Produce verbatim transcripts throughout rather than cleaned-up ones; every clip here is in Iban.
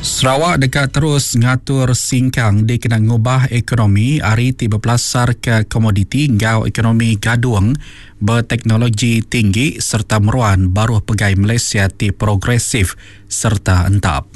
Sarawak deka terus ngatur singkang dikena ngubah ekonomi ari ti bepelasarka komoditi enggau ekonomi gadung beteknologi tinggi sereta meruan baruh pegai Malaysia ti progresif sereta entap.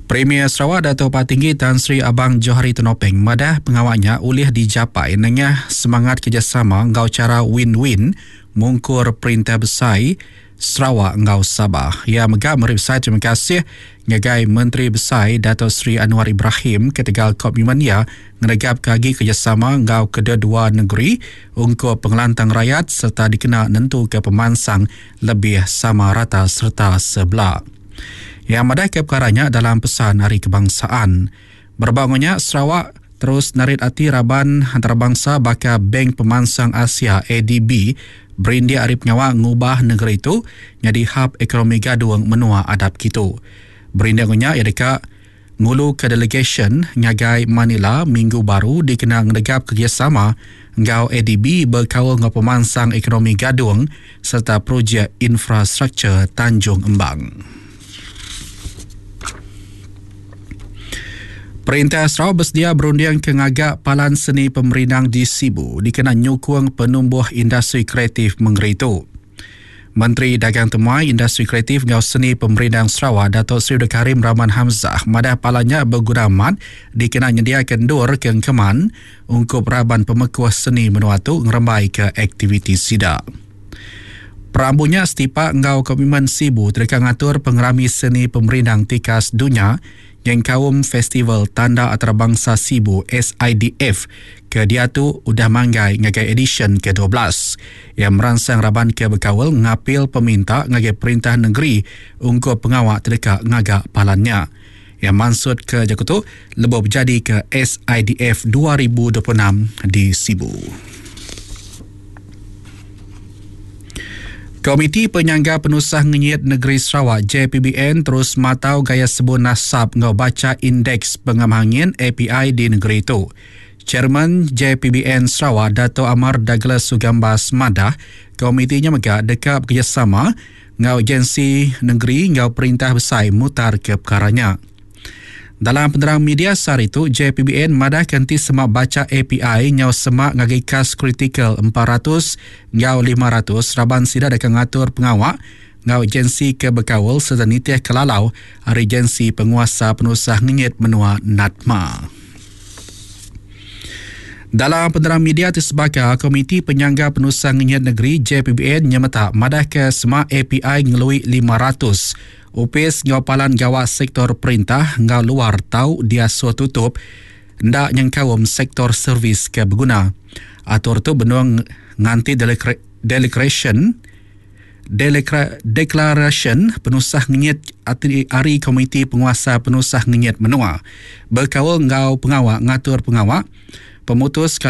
Premier Sarawak Datuk Patinggi Tan Sri Abang Johari Tun Openg madah pengawa nya ulih dijapai nengah semangat kerejasama enggau chara win-win mungkur Perintah Besai, Sarawak enggau Sabah. Iya mega meri besai terima kasih ngagai Menteri Besai Datuk Seri Anwar Ibrahim ketegal komitmen iya ngenegapka agi kerejasama enggau kededua negeri ungkup pengelantang rayat sereta dikena nentuka pemansang lebih sama rata sereta sebela. Iya madahka pekara nya dalam pesan Hari Kebangsaan. Berebak enggau nya, Sarawak terus narit ati raban antarabangsa baka Bank Pemansang Asia, A D B, berindik ari pengawa ngubah negeri tu nyadi hub ekonomi gadung menua adap kitu. Berindik enggau nya, iya deka nguluka delegasyen ngagai Manila minggu baru dikena ngenegap kerejasama enggau A D B bekaul enggau pemansang ekonomi gadung sereta projek infrastruktur Tanjung Embang. Perintah Sarawak bersedia berunding ke ngaga palan seni pemerindang di Sibu dikena nyukung penumbuh industri kreatif mengeri tu. Menteri Dagang Temuai, Industri Kreatif enggau Seni Pemerindang Sarawak, Datuk Seri Abdul Karim Rahman Hamzah madah palannya beguna amat dikena nyediakan endur ke engkeman ungkup raban pemekuh seni menua tu ngerembai ke aktiviti sida. Perambunya setipak enggau komitmen Sibu terika ngatur pengerami seni pemerindang tikas dunia nyengkaum Festival Tanda Antarabangsa Sibu S I D F ke diatu udah manggai ngagai edisyen ke dua belas. Ia meransang raban ke bekawal ngapil peminta ngagai perintah negeri ungkup pengawak terdekat ngagak palannya. Ia maksud ke Jakutu lebih berjadi ke S I D F dua ribu dua puluh enam di Sibu. Komiti Penyangga Penusah Ngenyit Negeri Sarawak J P B N terus matau gaya sebun nasab ngau baca indeks pengamangin A P I di negeri itu. Chairman J P B N Sarawak Dato' Amar Douglas Sugambas madah komitinya mega dekat bekerjasama ngau agensi negeri ngau perintah besai mutar ke perkaranya. Dalam penerang media sehari itu, J P B N madah kanti semak baca A P I ngau semak ngagi kas kritikal empat ratus ngau lima ratus raban sida dekat ngatur pengawak ngau agensi ke bekawal serta nitih kelalau hari agensi penguasa penusah ngenyit menua NATMA. Dalam penerang media tersebaka, Komiti Penyangga Penusah Ngenyit Negeri J P B N nyemetak madah ke semak A P I ngelui lima ratus. Upis ngau palan gawat sektor perintah ngau luar tau dia suah tutup ndak nyengkaum sektor servis ke berguna. Atur tu benung nganti declaration declaration penusah ngenyit ari Komiti Penguasa Penusah Ngenyit Menua. Berkaul ngau pengawak ngatur pengawak pemutus kali